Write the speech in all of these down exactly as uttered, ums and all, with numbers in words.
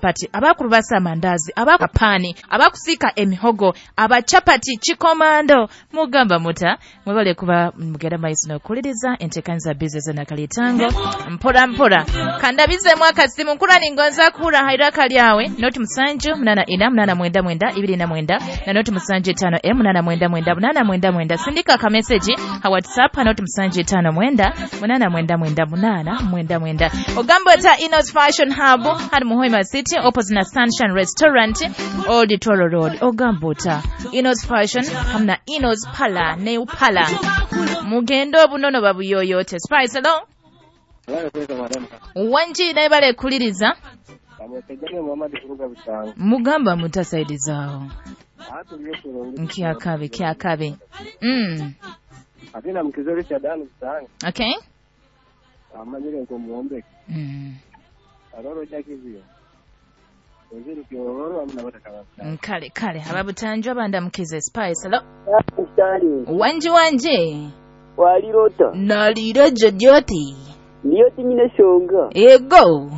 chapati, abakurubasa amandazi, abakapani, abakusika emihogo, abachapati chikomando. Mugamba muta mwebale kuba mugera maiso n'okuwuliriza enteekaniza business na kalitango mpora mpora kandabize mwaka simu nkura ningonza kuhura hairaka lyawe noti musanju munana ina munana mwenda mwenda ibiri na mwenda na noti musanju etano e munana mwenda mwenda munana mwenda mwenda. Sindika ka message ha WhatsApp ha noti musanju etano mwenda munana mwenda mwenda munana mwenda mwenda. Ogamba ta Inos Fashion Hub hali Muhoima City opposite na Sunshine Restaurant Old Toro Road. Ogamba ta Inos Fashion hamna Inos Pala ne upala mugendo obunono babuyoyote. Spice hello. Wanji naye bale kuliriza mugamba mutasaidizaawo nkyakabi kyakabi. Mm. Atina mkizori cha dani sana. Okay. Amanyire nko muombe. Mm. Aroro chakizio. Waziri kiororo amna bataka. Kale kale ababutanjwa banda mkize. Spice hello. Mstari. Wanji wanje. Walirota. Nalira jojoti. Niyo tinyine shonga. Ego.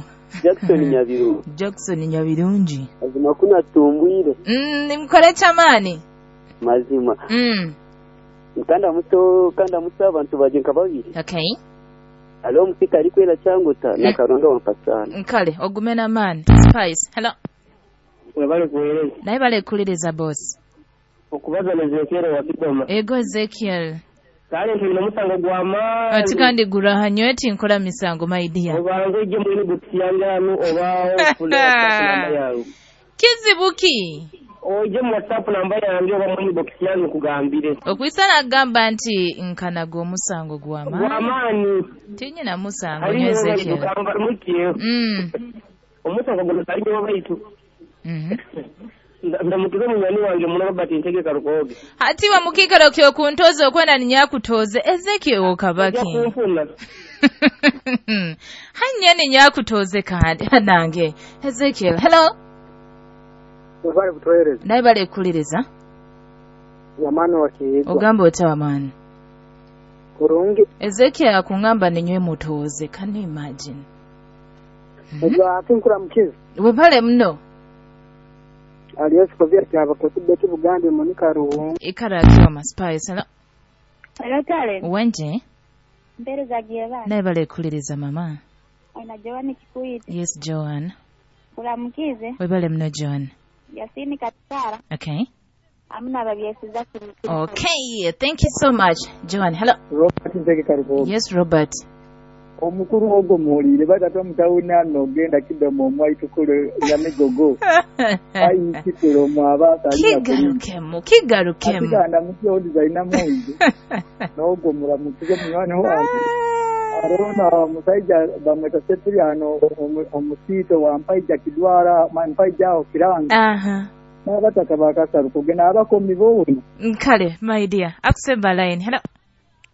Jackson Nyabiru. Jackson Nyabirungi. Azima kuna tumbwire. Mm, nimkore chamani. Mazima. Mm. Kanda muto kanda muto abantu baje nkababiri. Okay. Alo mfika alikwela changuta mm. na karonga wampasana. Nkale ogumena man. Spice. Hello. Webale kueleza. Naye bale kuliriza boss. Okubaza Ezekiel wa Kidoma. Ego Ezekiel. Kale ntulina musango gwa maanyi. Ati kandi gurahanyo eti nkola misango my dear. Obanze ojje mwini gutiyanganu oba ofuna WhatsApp namba yange. Kizibuki. Ojje mu WhatsApp namba yange oba mwini box yange kugambire. Okwisana agamba nti nkanaga omusango gwa maanyi. Gwa maanyi. Tinyina musango nyo Ezekiel. Mm. Omusango guno taliyo baitu. Mhm. Ndamukiza munyani wange muno Robert Ntege Karukoge. Hati wa mukikaro kyo kuntoza okwenda ninyakutoze Ezekiel okabaki. Hanya ninyakutoze kandi nange. Ezekiel, hello. Ubale kutoereza. Naye bale kuliriza. Wamano wakiigwa. Ogamba ota wamani. Kurungi. Ezekiel akungamba ninywe mutoze. Can you imagine? Ejwa akinkura mkizi. Webale mno. Aliyesu kovia kyaba kutubeti Buganda Monica Ruhu. Ikara akiwa Spice. Hello. Hello Tale. Wenje. Mbere za gieva. Naye bale kuliriza mama. Ana Joan Kikuiti. Yes Joan. Kulamukize. Webale mno Joan. Yasini Katara. Okay. Amna babyesiza kumukira. Okay, thank you so much Joan. Hello. Robert Nzege Karugo. Yes Robert. Omukuru ogwo muwulire batata mutawuna n'ogenda Kidoma omwaitukulu ya migogo. Ayi kikulo omwaba kigarukemu kigarukemu. Atiganda mutyo designer mungi. N'ogwo mulamukize munywani wange. Arona musajja bamweta Sepriano omusito wa Mpaija Kidwara Mpaija aho Kiranga. Aha. N'abataka bakasarukoge n'abakomi boona. Kale my dear akusemba line. Hello.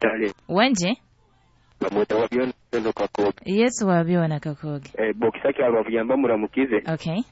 Tale. Wenje. Bamweta wabyona Kakoge. Yes wabyona Kakoge. Eh bokisaki abavuyamba muramukize. Okay.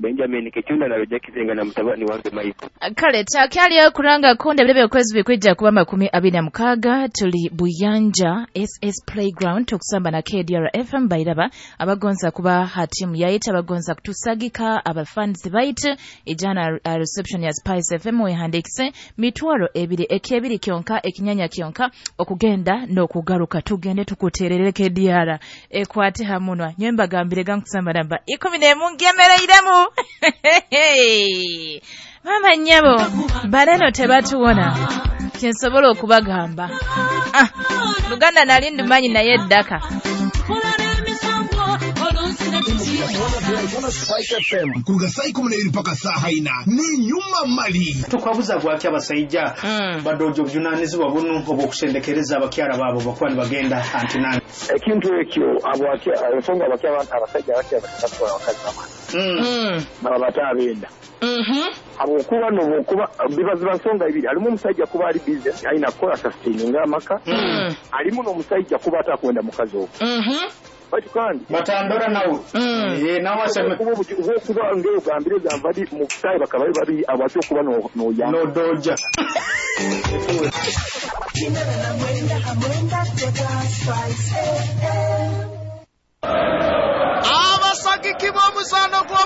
Benjamin Kichunda na Roger Kizenga na mutabani wange Michael. Kale takyali kuranga konde bilebe okwezi bikwijja kuba makumi abiri na mukaga tuli Buyanja S S Playground tukusamba na K D R F M bairaba abagonza kuba hatimu yaita abagonza kutusagika abafans bait ijana uh, reception ya Spice F M wehandikise mitwaro ebiri ekyebiri kyonka ekinyanya kyonka okugenda n'okugaruka tugende tukuterere K D R ekwate hamunwa nyemba gambire gankusamba namba ikumi n'emu ngemereiremu. Mama nyabo baleno tebatuwona kinsobola okubagamba. Ah, Luganda nali ndumanyi naye eddaka. Kuruga saa ikumi n'ebiri mpaka saa ina ni nyuma mali tukwabuza gwaki abasajja mm. badojo obuvunanyizibwa buno obw'okusendekereza abakyala baabo bakuba nibagenda antinani ekintu ekyo ensonga abasajja abakyala batwala abakazi bamani baba batabenda habwokuba nobwokuba bibaziba nsonga ibiri alimu omusajja kuba ali busy alina kukola sustaininga amaka alimu n'omusajja kuba atakwenda mukazi ogwo batu kandi batandora nawe eh nawe aseme kuba ngero gambire gambadi mu kutayi bakaba bari abacho kuba no no ya no doja abasagiki b'omuzaano gw'omu